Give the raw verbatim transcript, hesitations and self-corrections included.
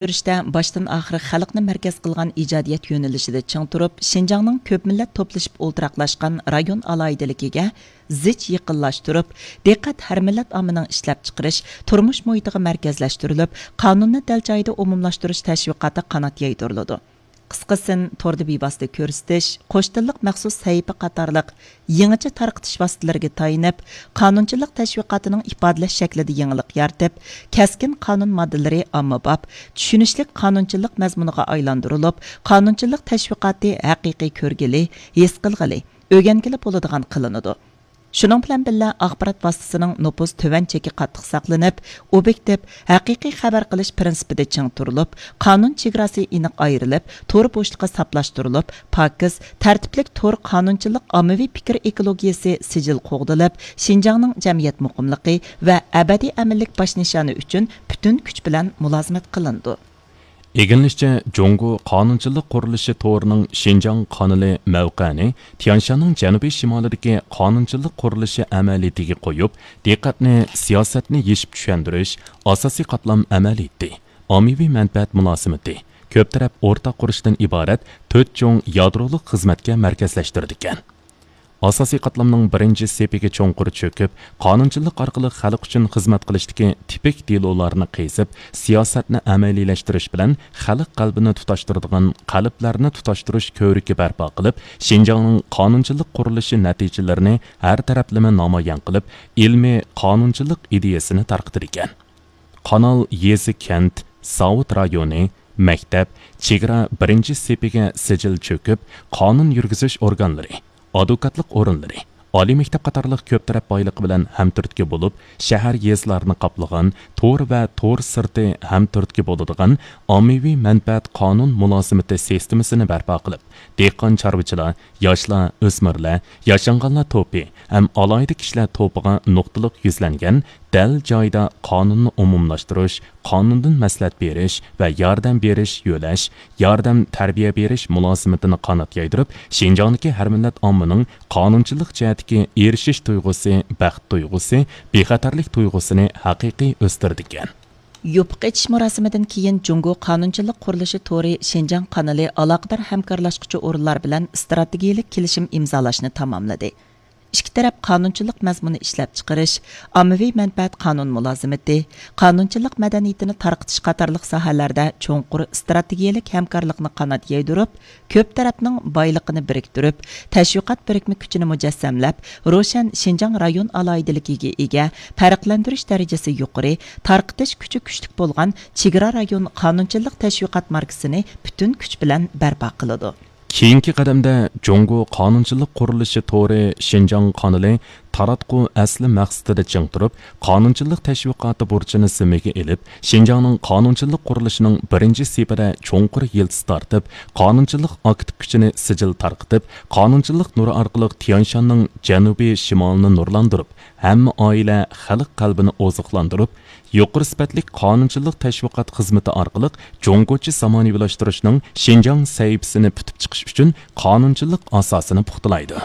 يۈرۈشتە باشتىن ئاخىر خەلقنى مەركەز قىلغان ئىجادىيەت يۆنىلىشىدە چىڭ تۇرۇپ، شىنجاڭنىڭ كۆپ مىللەت توپلىشىپ ئولتۇراقلاشقان رايون ئالاھىدىلىكىگە زىچ يېقىنلاشتۇرۇپ، دىققەت ھەر مىللەت ئاممىنىڭ ئىشلەپچىقىرىش، تۇرمۇش مۇھىتىغا مەركەزلەشتۈرۈلۈپ، قانۇننى دەل جايىدا ئومۇملاشتۇرۇش تەشۋىقاتى قانات يايدۇرۇلىدۇ. قىسقىسىن، توردا بىۋاسىتە كۆرسىتىش، قوش تىللىق مەخسۇس سەھىپە قاتارلىق يېڭىچە تارقىتىش ۋاسىتىلىرىگە تايىنىپ، قانۇنچىلىق تەشۋىقاتىنىڭ ئىپادىلەش شەكلىدە يېڭىلىق يارىتىپ، كەسكىن قانۇن ماددىلىرى ئاممىباب، چۈشىنىشلىك قانۇنچىلىق مەزمۇنىغا ئايلاندۇرۇلۇپ، قانۇنچىلىق تەشۋىقاتى ھەقىقىي كۆرگىلى، ھېس قىلغىلى، ئۆگەنگىلى بولىدىغان قىلىنىدۇ. شۇنىڭ بىلەن بىللە، ئاخبارات ۋاسىتىسىنىڭ نوپۇز تۆۋەن چېكى قاتتىق ساقلىنىپ، ئوبيېكتىپ، ھەقىقىي خەۋەر قىلىش پىرىنسىپىدا چىڭ تۇرۇلۇپ، قانۇن چېگراسى ئېنىق ئايرىلىپ، تور بوشلۇقى ساپلاشتۇرۇلۇپ، پاكىز، تەرتىپلىك تور قانۇنچىلىق ئاممىۋى پىكىر ئېكولوگىيىسى سىجىل قوغدىلىپ، شىنجاڭنىڭ جەمئىيەت مۇقىملىقى ۋە ئەبەدىي ئەمىنلىك باش نىشانى ئۈچۈن پۈتۈن كۈچ بىلەن مۇلازىمەت قىلىنىدۇ. ئىگىلىنىشىچە، جۇڭگو قانۇنچىلىق قۇرۇلۇشى تورىنىڭ شىنجاڭ قانىلى مەۋقەنى تيەنشاننىڭ جەنۇبىي شىمالىدىكى قانۇنچىلىق قۇرۇلۇشى ئەمەلىيىتىگە قويۇپ، دىققەتنى سىياسەتنى يېشىپ چۈشەندۈرۈش، ئاساسىي قاتلام ئەمەلىيىتى، ئاممىۋى مەنپەئەت مۇلازىمىتى، كۆپ تەرەپ ئورتاق قۇرۇشتىن ئىبارەت تۆت چوڭ يادرولۇق خىزمەتكە مەركەزلەشتۈرىدىكەن. ئاساسىي قاتلامنىڭ بىرىنچى سېپىگە چوڭقۇر چۆكۈپ، قانۇنچىلىق ئارقىلىق خەلق ئۈچۈن خىزمەت قىلىشتىكى تىپىك دېلولارنى قېزىپ، سىياسەتنى ئەمەلىيلەشتۈرۈش بىلەن خەلق قەلبىنى تۇتاشتۇرىدىغان قەلبلەرنى تۇتاشتۇرۇش كۆۋرۈكى بەرپا قىلىپ، شىنجاڭنىڭ قانۇنچىلىق قۇرۇلۇشى نەتىجىلىرىنى ھەر تەرەپلىمە نامايان قىلىپ، ئىلمىي قانۇنچىلىق ئىدىيەسىنى تارقىتىدىكەن. قانال يېزا، كەنت، زاۋۇت رايونى، مەكتەپ، چېگرا بىرىنچى سېپىگە سىجىل چۆكۈپ، قانۇن يۈرگۈزۈش ئورگانلىرى، ئادۋوكاتلىق ئورۇنلىرى، ئالىي مەكتەپ قاتارلىق كۆپ تەرەپ بايلىقى بىلەن ھەمتۈرتكە بولۇپ، شەھەر، يېزىلارنى قاپلىغان تور ۋە تور سىرتى ھەمتۈرتكە بولىدىغان ئاممىۋى مەنپەئەت قانۇن مۇلازىمىتى سىستېمىسىنى بەرپا قىلىپ، دېھقان، چارۋىچىلار، ياشلار، ئۆسمۈرلەر، ياشانغانلار توپى ھەم ئالاھىدە كىشىلەر توپىغا نۇقتىلىق يۈزلەنگەن دەل جايىدا قانۇننى ئومۇملاشتۇرۇش، قانۇندىن مەسلىھەت بېرىش ۋە ياردەم بېرىش، يۆلەش، ياردەم، تەربىيە بېرىش مۇلازىمىتىنى قانات يايدۇرۇپ، شىنجاڭدىكى ھەر مىللەت ئاممىنىڭ قانۇنچىلىق جەھەتتىكى ئېرىشىش تۇيغۇسى، بەخت تۇيغۇسى، بىخەتەرلىك تۇيغۇسىنى ھەقىقىي ئۆستۈرىدىكەن. يوپۇق ئېچىش مۇراسىمىدىن كېيىن، جۇڭگو قانۇنچىلىق قۇرۇلۇشى تورى شىنجاڭ قانىلى ئالاقىدار ھەمكارلاشقۇچى ئورۇنلار بىلەن ئىستراتېگىيەلىك كېلىشىم ئىمزالاشنى تاماملىدى. ئىككى تەرەپ قانۇنچىلىق مەزمۇنى ئىشلەپچىقىرىش، ئاممىۋى مەنپەئەت قانۇن مۇلازىمىتى، قانۇنچىلىق مەدەنىيىتىنى تارقىتىش قاتارلىق ساھەلەردە چوڭقۇر ئىستراتېگىيەلىك ھەمكارلىقنى قانات يايدۇرۇپ، كۆپ تەرەپنىڭ بايلىقىنى بىرىكتۈرۈپ، تەشۋىقات بىرىكمە كۈچىنى مۇجەسسەملەپ، روشەن شىنجاڭ رايون ئالاھىدىلىكىگە ئىگە، پەرقلەندۈرۈش دەرىجىسى يۇقىرى، تارقىتىش كۈچى كۈچلۈك بولغان چېگرا رايون قانۇنچىلىق تەشۋىقات ماركىسىنى پۈتۈن كۈچ بىلەن بەرپا قىلىدۇ. كېيىنكى قەدەمدە، جۇڭگو قانۇنچىلىق قۇرۇلۇشى تورى شىنجاڭ قانىلى تاراتقۇ ئەسلى مەقسىتىدە چىڭ تۇرۇپ، قانۇنچىلىق تەشۋىقاتى بۇرچىنى زىممىگە ئېلىپ، شىنجاڭنىڭ قانۇنچىلىق قۇرۇلۇشىنىڭ بىرىنچى سېپىدە چوڭقۇر يىلتىز تارتىپ، قانۇنچىلىق ئاكتىپ كۈچىنى سىجىل تارقىتىپ، قانۇنچىلىق نۇرى ئارقىلىق تيەنشاننىڭ جەنۇبىي شىمالىنى نۇرلاندۇرۇپ، ھەممە ئائىلە، خەلق قەلبىنى ئوزۇقلاندۇرۇپ، يۇقىرى سۈپەتلىك قانۇنچىلىق تەشۋىقات خىزمىتى ئارقىلىق جۇڭگوچە زامانىۋىلاشتۇرۇشنىڭ شىنجاڭ سەھىپىسىنى پۈتۈپ چىقىش ئۈچۈن قانۇنچىلىق ئاساسىنى پۇختىلايدۇ.